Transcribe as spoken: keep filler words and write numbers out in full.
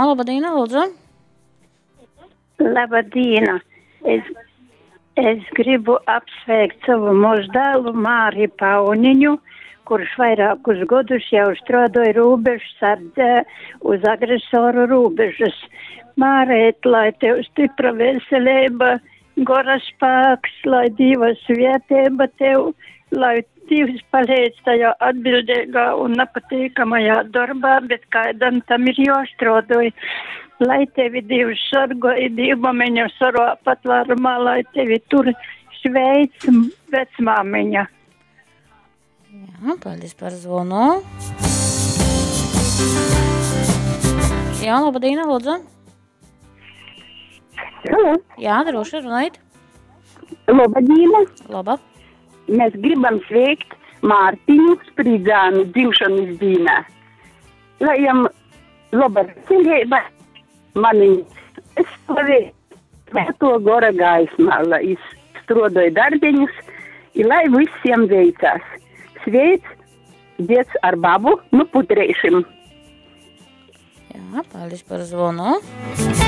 laba diena, lūdzu. Laba diena. Es, es gribu apsveikt savu muzdēlu Māri Pauniņu, kurš vairākus gadus jau strādāja robežsardzē uz agresoru robežas. Mārēt, lai tev stipra veselība, gora spēks, lai Dieva svētība tev, lai Dievs palīdz tajā atbildīgā un nepatīkamajā darbā, bet kādam tam ir jāstrādāj. Lai tevi Dievs sargāj, Dievmamiņa sargā patvērumā, lai tevi tur sveic vecmāmiņa. Jā, paldies par zvanu. Jā, laba diena, lūdzu. Halo. Jā, droši runājiet. Laba diena. Laba. Mēs gribam sveikt Mārtiņu Spridzānu dzimšanas dienā. Lai jam laba veselība, maniņas aizstāvē, svēto gora gaismā, lai jis strādāja darbiņus, i lai visiem veicās. Sveic, dzieds ar babu, nu putreišim. Jā, paldies par zvanu.